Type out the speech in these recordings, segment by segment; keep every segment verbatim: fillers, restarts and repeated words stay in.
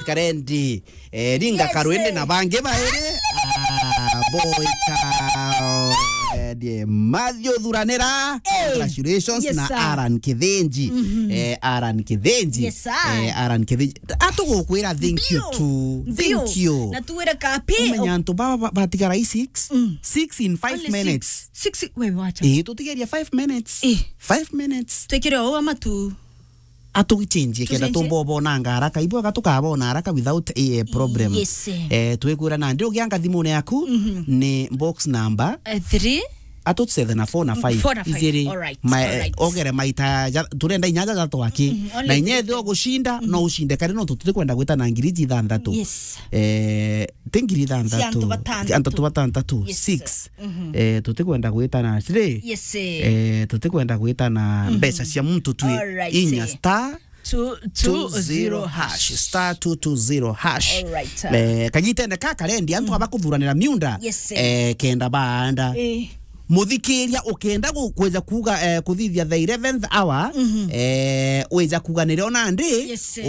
Karendi, eh, Ringa Yes, Karwende eh. na bangi bairi. Ah, boy ka, eh, die Matthew Thuranira. Eh. Congratulations Yes, na sir. Aaron Kithinji. Mhm. Eh, Aaron Kithinji. Yes, sir. Eh, Aaron Kithinji. Atugukwira thank you Bio. too. Bio. Thank you. Na tuwire kapi. Umenya antu baba ba-, batigara i six. Mm. Six in five Only minutes. Six. Six, we wacha. Eh, tutigeria five minutes. Eh. Five minutes. Twikire o amatu. Atugichenjie kenda Tuchenjie. Tumbobonanga haraka. Ibwega tukabona haraka without a problem. Yes. Eh, twikwira nandi ugianga thimune yaku Mhm. ni box number. Eh, three. Atucethe na four na five. Four na five. Ijiri. All right. Ma-, All right. Ogere maita ja-, turenda inya ja twaki. Mhm. Only Na inya three. Ethio gushinda, Mhm. no ushinde kare no tuti kwenda gwita na ngiri ithantatu. Yes. Eh, ti ngiri ithantatu. Cia antu batantatu. Antu batantatu. Yes. Six. Mhm. Eh, tutikwenda gwitana three. Yes, eh. Eh, tutikwenda gwitana Mhm. mbeca cia muntu twi Alright, inya eh. star Two, two zero hash. Star two two zero hash. Alright, eh. Eh, kagitene ka karendi, antu Mhm. aba kuthuranira miunda. Yes, eh. Eh, kenda baanda. Eh. Muthikiria ukenda gu-, kwija kuga, eh, kuthithia the eleventh hour, Mhm. eh, wija kuga nirio nandi, Yes, eh.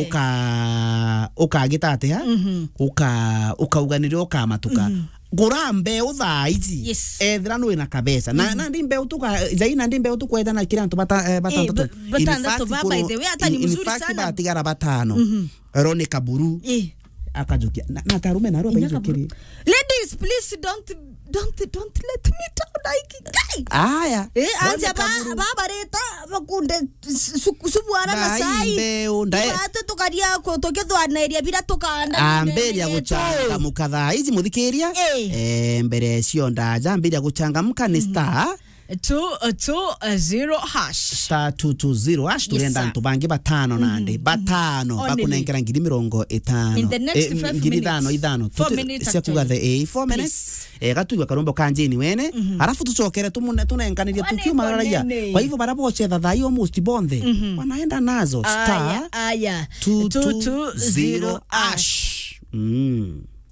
uka-, ukagita atia? Mhm. Uka-, ukauga nirio ukamatuka. Mhm. Gura mbeu thaa iji. Yes. Ethira nwi na kabesa. Na, Mhm. nandi mbeu tuka-, jai nandi mbeu tukwetana kiri antu bata-, eh, Eh, batantatu. ba-, batantatu In fact, ba, by kuru-, the way, hata ni in, in mzuri fact, sana. Batigara batano. Mhm. Roni Kaburu. Eh. Akajukia. Na, na tarume na arua Inya baijukirie. Kaburu. Ladies, please don't, don't, don't let me down, like, guy. Aya. Eh, Roni anja ba, Kaburu. Ba bareta, bakunde su-, su-, subwana na Ndai sai. Mbeu, ndai. Ibatu tukaria ku-, tukithwaniria bira tukanda Ambiria nene yetu. Guchangamuka thaa ici, muthikiria. Eh. Eh, mbere cio ndaja, ambiria guchangamuka ni Mhm. star. Two, uh, two, uh, zero hash. Star two two zero hash, Yes, turenda sir. antu bangi batano Mhm. nandi. Mhm. Batano, Only. bakunenkera ngiri mirongo itano. In the next Eh, five ngiri minutes. Ithano, ithano. Four Tuti-, minutes cia kuga actually. The, eh, four minutes. Please. Eh, gatugwe karombo ka njini wene. Mhm. Arafu tucokere tumune-, tunenkanirie Wane tukiuma raraia. Konene. Kwa hivyo, bara bocetha thaa hii almost bonthe. Mhm. Wanaenda nazo. Aya, Star aya. Two two zero hash. Two two zero hash. Mm.